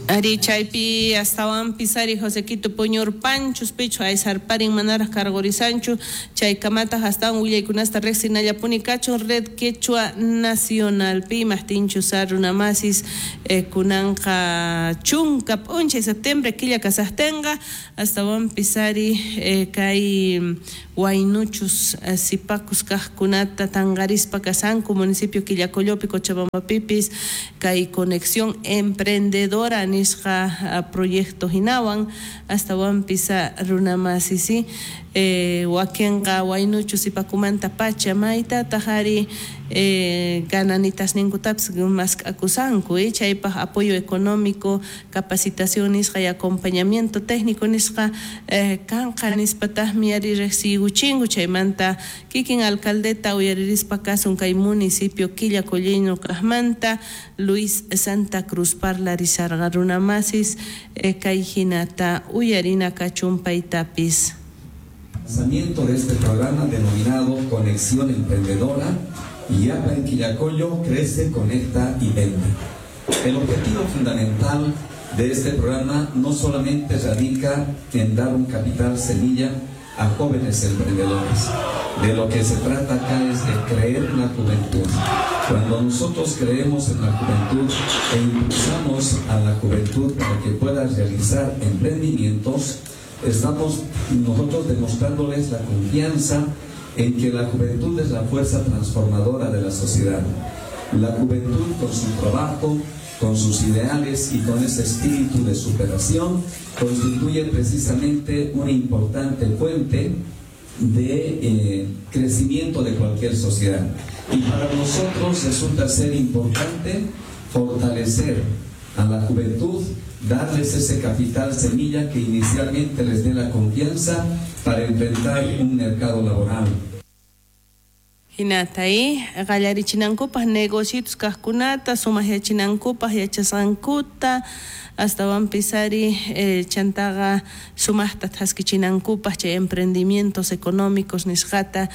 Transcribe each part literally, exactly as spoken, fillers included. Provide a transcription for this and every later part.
Ari chaypi astawanpis ari Josequito puñurpanchus pichu aysarparin manaraj karqurisanchu chaykamataq astawan willaykunasta riqsinallapuni kachun Red Quechua Nacionalpi imaqtinchus runamasis eh, kunanqa chunka p'unchay septiembre killa kasaqtinqa astawanpis ari eh, kay waynuchus eh, sipakus kaqkunata tanqarispa kasanku municipio Quillacollopi Cochabambapipis kay conexión emprendedora nisqa proyecto hinawan astawanpis runamasisi eh, wakinqa waynuchu sipakumanta pacha maytataq ari eh, gananitas ninkutapis mask'akusanku eh, chaypaq apoyo económico, capacitación nisqa y acompañamiento técnico nisqa eh, kanqa nispataqmi ari riqsiykuchinku chaymanta kikin alcaldeta uyaririspa kasun kay municipio Quillacolleño kaqmanta Luis Santa Cruz parlarisarqa runamasis eh, kay hinata uyarina kachun paytapis. Lanzamiento de este programa denominado Conexión Emprendedora, Illapa en Quillacollo crece, conecta y vende. El objetivo fundamental de este programa no solamente radica en dar un capital semilla a jóvenes emprendedores. De lo que se trata acá es de creer en la juventud. Cuando nosotros creemos en la juventud e impulsamos a la juventud para que pueda realizar emprendimientos, estamos nosotros demostrándoles la confianza en que la juventud es la fuerza transformadora de la sociedad. La juventud con su trabajo, con sus ideales y con ese espíritu de superación constituye precisamente una importante fuente de eh, crecimiento de cualquier sociedad. Y para nosotros resulta ser importante fortalecer a la juventud, darles ese capital semilla que inicialmente les dé la confianza para enfrentar un mercado laboral. Hinata qallarichinankupaq negocios kaqkunata sumaqyachinankupaq yachasqankuta astawanpis ari eh, chantaqa sumaqta thaskichinankupaq chay emprendimientos económicos nisqata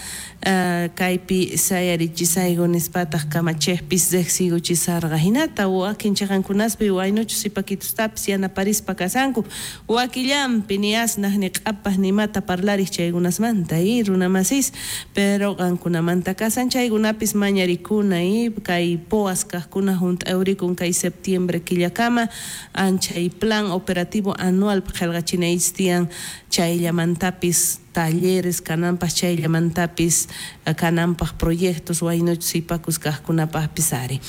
uh, kaypi sayarichisayku nispataq kamachejpis riqsiykuchisarqa hinata wakin chiqankunaspi waynuchus sipakitustapis yanaparispa kasanku wakillanpi ni asnaq ni q'apaq nimata parlariq chaykunasmanta y runamasis pero qankunamanta kasan chaykunapis mañarikuna y kay poas kaqkuna hunt'awrikun kay septiembre killakama anchay plan operativo anual qillqachinaychis tiyan chayllamantapis talleres kananpaq chayllamantapis kananpaq proyectos waynuchus sipakus kaqkunapaqpis ari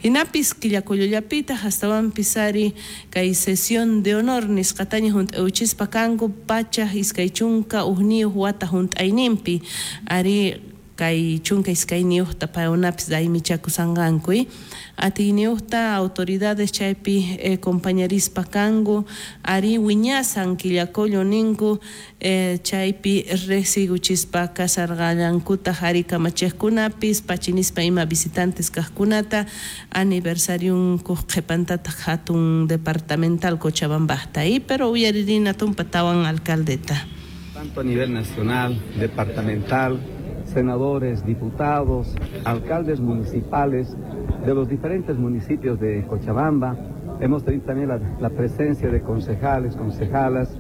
hinapis Quillacollollapitaq astawanpis ari kay sesión de honor nisqataña hunt'awchispa kanku pachaq iskay chunka hukniyuq wata hunt'ayninpi ari kay chunka iskayniyuqta paykunapis raymichakusanqanku atiyniyuqta autoridades chaypi eh, compañerispa kanku ari wiñasan Quillacollo ninku eh, chaypi riqsiykuchispa kasarqallankutaq ari kamachiqkunapis pachinispa ima visitantes kaqkunata aniversariunkuq qhipantataq hatun departamental Cochabambajta y pero uyaririna tumpa tawan alcaldeta. Tanto a nivel nacional, departamental, senadores, diputados, alcaldes municipales de los diferentes municipios de Cochabamba. Hemos tenido también la, la presencia de concejales, concejalas.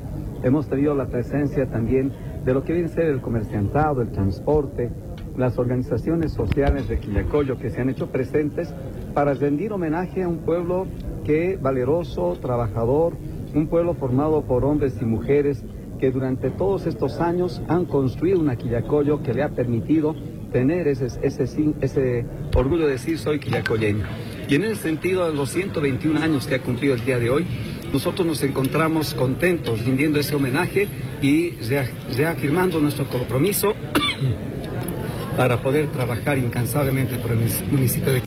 Hemos tenido la presencia también de lo que viene a ser el comerciantado, el transporte, las organizaciones sociales de Quillacollo que se han hecho presentes para rendir homenaje a un pueblo que valeroso, trabajador, un pueblo formado por hombres y mujeres que durante todos estos años han construido una Quillacollo que le ha permitido tener ese, ese, ese orgullo de decir soy quillacolleño. Y en ese sentido, a los ciento veintiún años que ha cumplido el día de hoy, nosotros nos encontramos contentos rindiendo ese homenaje y reafirmando nuestro compromiso para poder trabajar incansablemente por el municipio de